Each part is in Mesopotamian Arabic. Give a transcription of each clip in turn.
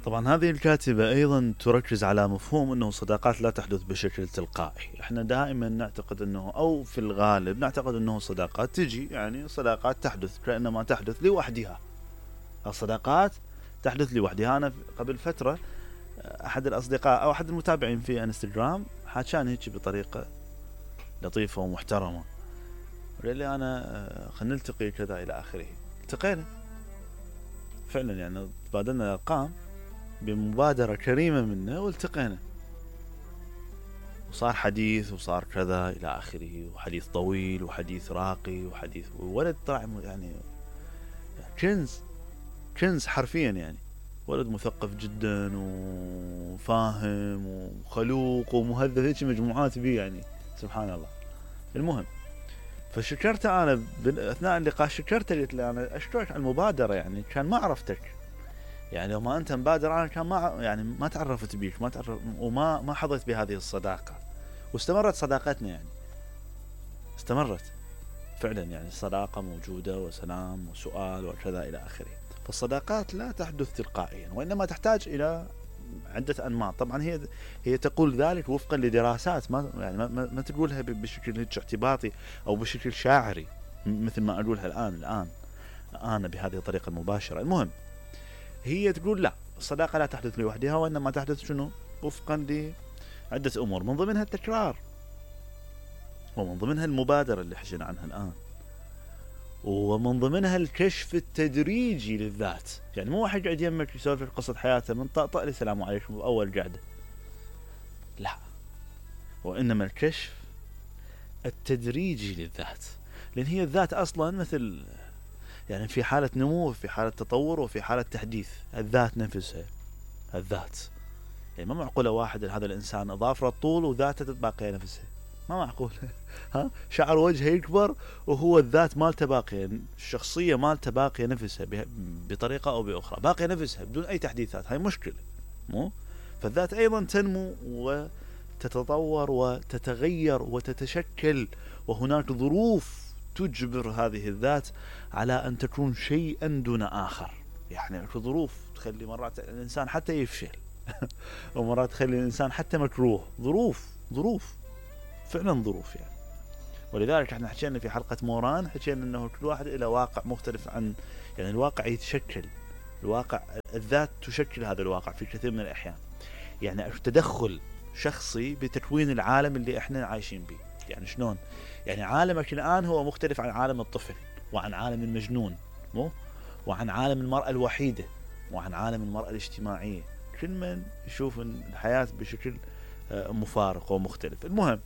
طبعا هذه الكاتبة أيضا تركز على مفهوم أنه الصداقات لا تحدث بشكل تلقائي. احنا دائما نعتقد أنه، أو في الغالب نعتقد أنه الصداقات تجي، يعني صداقات تحدث كأنما تحدث لوحدها. الصداقات تحدث لوحدها. أنا قبل فترة أحد الأصدقاء أو أحد المتابعين في انستغرام حاجان هيك بطريقة لطيفة ومحترمة، قال لي أنا خلينا نلتقي كذا إلى آخره. التقينا فعلا، يعني تبادلنا الأرقام بمبادرة كريمة منه والتقينا، وصار حديث وصار كذا إلى آخره، وحديث طويل وحديث راقي وحديث ولد طلع يعني كنز حرفيا، يعني ولد مثقف جدا وفاهم وخلوق ومهذب، هيك مجموعات بيه يعني سبحان الله. المهم فشكرته أنا أثناء اللقاء، شكرته قلت له أنا أشكرك على المبادرة، يعني كان ما عرفتك، يعني لو ما أنت مبادر أنا كان ما تعرفت بيك، ما تعرف وما حظيت بهذه الصداقة. واستمرت صداقتنا، يعني استمرت فعلا، يعني الصداقة موجودة وسلام وسؤال وكذا إلى آخره. فالصداقات لا تحدث تلقائيا، وإنما تحتاج إلى عدة أنماط. طبعا هي تقول ذلك وفقا لدراسات، ما تقولها بشكل اعتباطي أو بشكل شاعري مثل ما أقولها الآن أنا بهذه الطريقة المباشرة. المهم هي تقول لا، الصداقة لا تحدث لوحدها، وإنما تحدث شنو؟ وفقا لعدة أمور، من ضمنها التكرار، ومن ضمنها المبادرة اللي حكينا عنها الآن، ومن ضمنها الكشف التدريجي للذات. يعني مو واحد قاعد يمك يسولف قصة حياته من طقطق لي السلام عليكم بأول قعدة، لا، وإنما الكشف التدريجي للذات. لأن هي الذات أصلا مثل، يعني في حالة نمو، في حالة تطور، وفي حالة تحديث. الذات نفسها، الذات يعني ما معقولة واحد هذا الإنسان أضاف له الطول وذاته باقية نفسها، ما معقول. ها، شعر وجهه يكبر وهو الذات مالته باقية، الشخصية مالته باقية نفسها بطريقة أو بأخرى، باقية نفسها بدون أي تحديثات. هاي مشكلة، مو؟ فالذات أيضا تنمو وتتطور وتتغير وتتشكل، وهناك ظروف تجبر هذه الذات على أن تكون شيئا دون آخر. يعني ظروف تخلي مرات الإنسان حتى يفشل ومرات تخلي الإنسان حتى مكروه. ظروف فعلا ظروف يعني. ولذلك احنا حكينا في حلقة موران، حكينا انه كل واحد الى واقع مختلف عن، يعني الواقع يتشكل، الواقع الذات تشكل هذا الواقع في كثير من الأحيان. يعني تدخل شخصي بتكوين العالم اللي احنا عايشين به. يعني شلون؟ يعني عالمك الآن هو مختلف عن عالم الطفل، وعن عالم المجنون، مو؟ وعن عالم المرأة الوحيدة، وعن عالم المرأة الاجتماعية. كل من يشوف الحياة بشكل مفارق ومختلف. المهم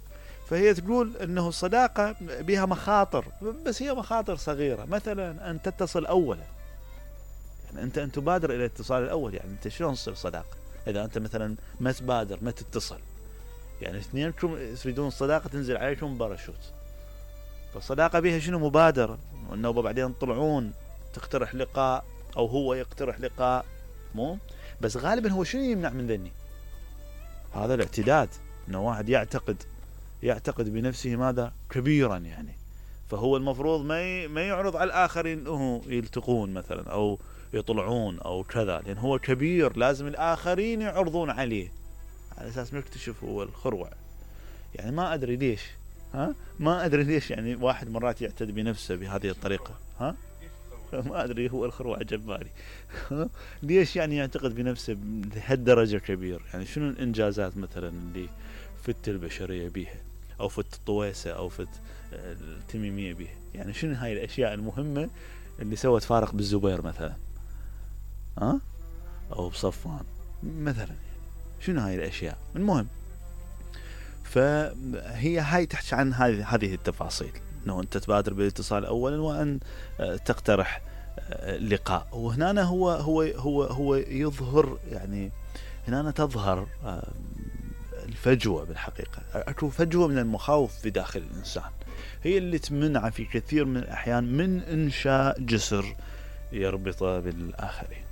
فهي تقول انه الصداقة بها مخاطر، بس هي مخاطر صغيرة. مثلا ان تتصل اولا، يعني انت ان تبادر الى الاتصال الاول. يعني انت شلون تصير صداقة اذا انت مثلا ما تبادر، ما تتصل؟ يعني اثنينكم تريدون الصداقة تنزل عليكم باراشوت. فالصداقة بها شنو؟ مبادرة، وانه بعدين تطلعون تقترح لقاء او هو يقترح لقاء، مو؟ بس غالبا هو شنو يمنع من ذني؟ هذا الاعتداد، انه واحد يعتقد بنفسه ماذا؟ كبيرا يعني. فهو المفروض ما يعرض على الآخرين انه يلتقون مثلا او يطلعون او كذا، لان هو كبير، لازم الآخرين يعرضون عليه على اساس نكتشف هو الخروع. يعني ما ادري ليش، ما ادري ليش يعني واحد مرات يعتد بنفسه بهذه الطريقة. ما ادري، هو الخروع جبالي. ليش يعني يعتقد بنفسه بهالدرجة كبير؟ يعني شنو الانجازات مثلا اللي فت البشرية بيها، او فت الطويسة، او فت التميمية بيها؟ يعني شنو هاي الاشياء المهمة اللي سوت فارق بالزبير مثلا، او بصفوان مثلا؟ يعني شنو هاي الاشياء؟ المهم فهي هاي تحكي عن هذه التفاصيل، انه انت تبادر بالاتصال اولا، وان تقترح لقاء. وهنا هو يظهر، يعني هنا تظهر الفجوة. بالحقيقة اكو فجوة من المخاوف في داخل الانسان، هي اللي تمنع في كثير من الاحيان من انشاء جسر يربطه بالاخرين.